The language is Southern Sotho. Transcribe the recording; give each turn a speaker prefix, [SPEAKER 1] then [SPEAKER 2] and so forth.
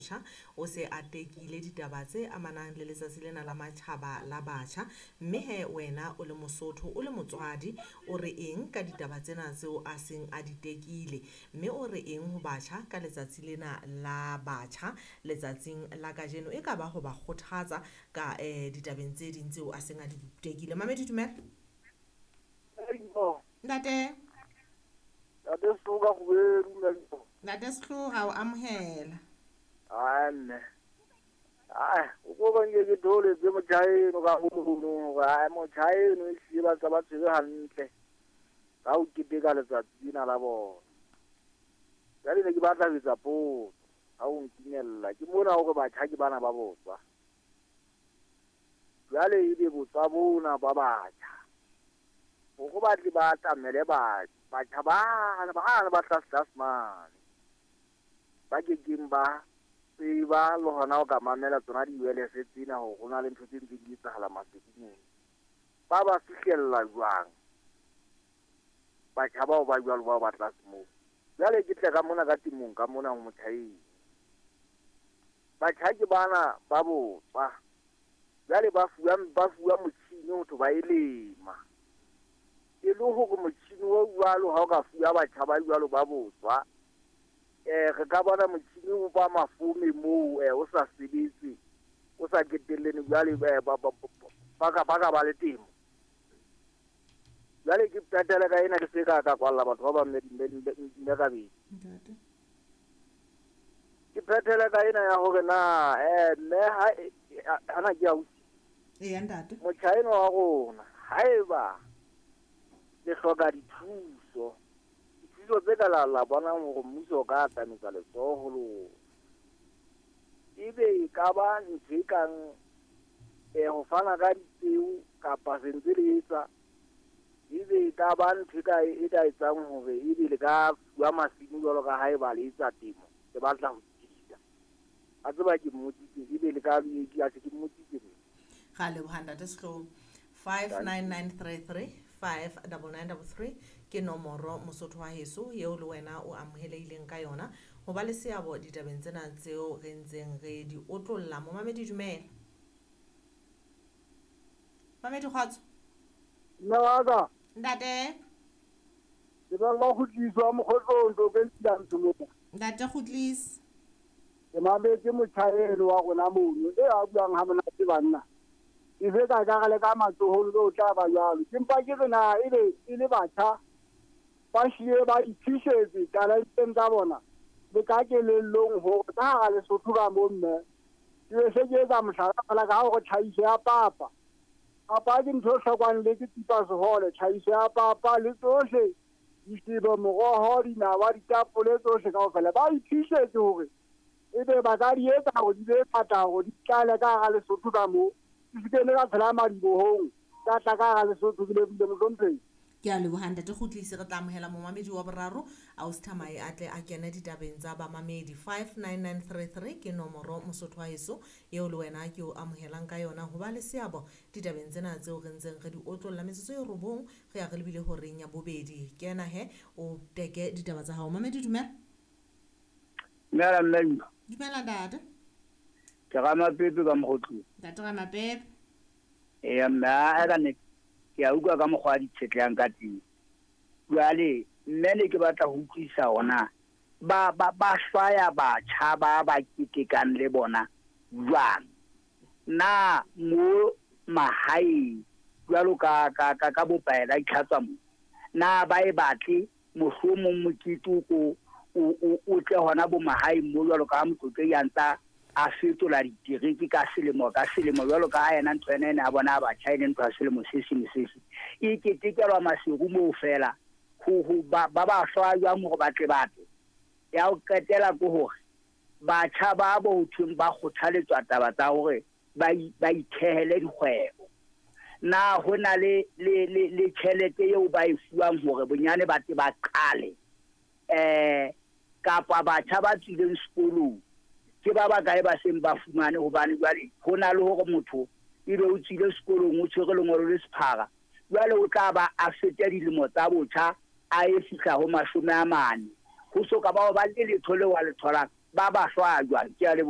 [SPEAKER 1] Batjha o se a tekile ditaba tse amanang le letsatsi lena la matjhaba la batjha. Mme he wena o le Mosotho, o le motswadi, o re eng ka ditaba tsena tseo a seng a di tekile? Mme o re eng ho batjha ka letsatsi lena la batjha letsatsing la kajeno? E ka ba ho ba kgothatsa ka ditabeng tse ding tseo a seng a di tekile. Mamedi, dumela. Ntate.
[SPEAKER 2] Ntate Sehloka Kgubedu, mme.
[SPEAKER 1] Ntate Sehloka, o amohela.
[SPEAKER 2] Ai mme. Ai, o ko ba nke ke tholetse motjha eno ka mono hore ai motjha eno e hlile ba ntse ba tshwere hantle ka ho keteka letsatsi lena la bona. Jwale ne ke batla ho etsa potso ha o ntumella. Ke mona hore batjha ke bana ba botswa. Jwale ebe botswa bona ba batjha hore ba tle ba atamele batjha bana ba tlase tlase mane, ba kekeng ba tseba le hona ho ka mamela tsona di-wireless tsena hore ho na le ntho tse ntse di etsahala maseding. Ba ba fihlella jwang batjha bao ba jwalo bao ba tlase moo? Jwale ke tle ka mona ka temong ka mona ho motjha eno. Batjha ke bana ba botswa. Jwale ba fuwa motjhini ho thwe ba e lema. E le hore motjhini o jwalo ha o ka fuwa batjha ba jwalo ba botswa, re ka bona motjhini o ba mafome moo o sa sebetse, o sa ketellene jwale ba ka ba le temo. Jwale ke qetele ka ena ke se ka ka kwalla batho ba bang mme kabedi. Ke phethele ka ena ya hore na mme ha na ke ausi.
[SPEAKER 1] Eya ntate.
[SPEAKER 2] Motjha enwa wa rona haeba le hloka dithuso, dithuso tse ka la bonang hore mmuso o ka atametsa letsoho ho lona, ebe e ka ba ntho e kang ho fana ka dipeo kapa se ntse le etsa, ebe e ka ba ntho e ka etsang hore ebe le ka fuwa masimo jwalo ka ha eba le etsa temo, le batla ho tiisa. A tseba ke mmotsitse, ebe le ka ke mmotsitse.
[SPEAKER 1] Ga leboha ntate Sehloho. 59933 59933 ke nomoro Mosotho wa heso eo le wena o amohelehileng ka yona ho ba le seabo ditabeng tsena tseo re ntseng re di otlolla. Momamedi, dumela. Mamedi, kgotso.
[SPEAKER 2] Mme wa ka.
[SPEAKER 1] Ntate.
[SPEAKER 2] Ke ba ba kgutliswa mokgotlong to ke ntse mo.
[SPEAKER 1] Ntate Kgutlisi.
[SPEAKER 2] Ke mametse motjha eno wa rona mono e a buang ha monate banna. E se ka ka le ka matsohong le o tla ba jwalo. Ke mpa ke re na ebe e le batjha ba hlile ba iphihletse talenteng tsa bona le ka kelellong hore ka hara Lesotho ka mo mme. Ke be se ke etsa mohlala feela ka hore tlhahiso ya papa. Papa ke ntho e hlokwang le ke tsipa sehole, tlhahiso ya papa le tsohle ditebo, moroho, dinawa, ditapole tsohle kaofela. Ba iphihletse hore ebe ba ka di etsa hore di be ngata hore di tlale ka hara Lesotho ka mo. Di se ke ka tshela madibohong, tsa tla ka hara Lesotho ke lebohile mohlomphehi.
[SPEAKER 1] Ke a leboha ntate Kgutlisi. Re tla amohela momamedi wa boraro ausi Thamae a tle a kene ditabeng tsa bamamedi. 59933 ke nomoro Mosotho wa heso eo le wena ke o amohelang ka yona ho ba le seabo ditabeng tsena tseo re ntseng re di otlolla. Metsotso e 9 re ya re lebile horeng ya bobedi. Kena he o teke ditaba tsa hao. Mamedi, dumela.
[SPEAKER 2] Dumela mme.
[SPEAKER 1] Dumela ntate.
[SPEAKER 2] Ke Ramapepe ka Mokgotlong.
[SPEAKER 1] Ntate Ramapepe.
[SPEAKER 2] Eya mme, a ka nnete ke a utlwa ka mokgwa a di tshetlehang ka teng. Jwale mme ne ke batla ho utlwisisa hore na ba hlwaya batjha ba ba ketekang le bona jwang. Na mo mahaeng jwalo ka bopaela itlhatswa mo, na ba e batle mohlomong mokete o ko o tle hona bo mahaeng mo jwalo ka ha Motlotlehi a ntsa a fetola ditereke ka selemo ka selemo jwalo ka ha yena ntho ena ene a bona batjha e le ntho ya selemo se seng se seng e ketekelwa Maseru moo fela ho ba hlwaya jwang hore ba tle ba tle. Ya ho qetela ke hore batjha ba bo ho thweng ba kgothaletswa taba tsa hore ba ithehele dikgwebo. Na ho na le tjhelete eo ba e fuwang hore bonyane ba tle ba qale, kapa batjha ba tswileng sekolong ke ba bakae ba seng ba fumane? Hobane jwale ho na le hore motho ebe o tswile sekolong o tshwere lengolo le sephara, jwale o tla ba a fete dilemo tsa botjha a e fihla ho 40 ho so ka ba ba le letho leo a le tholang. Ba ba hlwaya jwang? Ke a leboha.